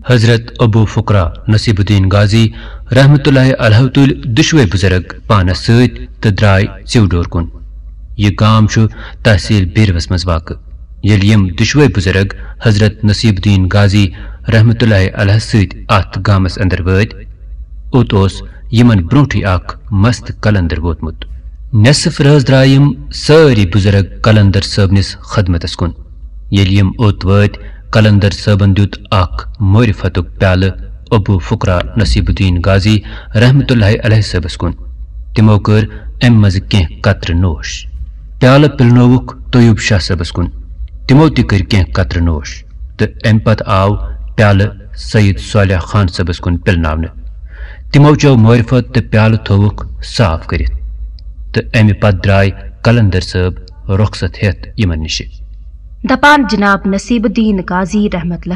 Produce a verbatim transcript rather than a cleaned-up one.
حضرت ابو فقرا نصیب الدین غازی رحمت اللہ علیہ تُلۍ دُشوے بزرگ پانس سۭتۍ تہٕ درٛاے ژِو ڈور کُن۔ یہِ گام چھُ تحصیل بیروس منٛز واقع۔ ییٚلہِ یِم دُشوے بزرگ حضرت نصیب الدین غازی رحمت اللہ علیہ سۭتۍ اتھ گامس اندر وٲتۍ، اوٚت اوس یِمن برونٹھٕے اکھ مست قلندر ووتمُت۔ نصف رٲژ درٛاے یِم سٲری بزرگ قلندر صٲبنِس خدمتس کُن۔ ییٚلہِ یِم اوٚت وٲتۍ، قلندر صٲبن دیُت اکھ معرفتُک پیالہٕ ابو فقرا نصیب الدین غازی رحمت اللہ علیہ صٲبس کُن۔ تِمو کٔر امہِ منٛزٕ کینٛہہ قطرٕ نوش۔ پیالہٕ پِلنووُکھ طیوب شاہ صٲبس کُن۔ تِمو تہِ کٔرۍ کینٛہہ قطرٕ نوش تہٕ امہِ پتہٕ آو پیالہٕ سید صالح خان صٲبس کُن پِلناونہٕ۔ تِمو چیو معرفت تہٕ پیالہٕ تھووُکھ صاف کٔرِتھ۔ تہٕ امہِ پتہٕ درٛاے قلندر صٲب رۄخصت ہٮ۪تھ یِمن نِشہِ۔ دپان جناب نصیب الدین قاضی رحمت اللہ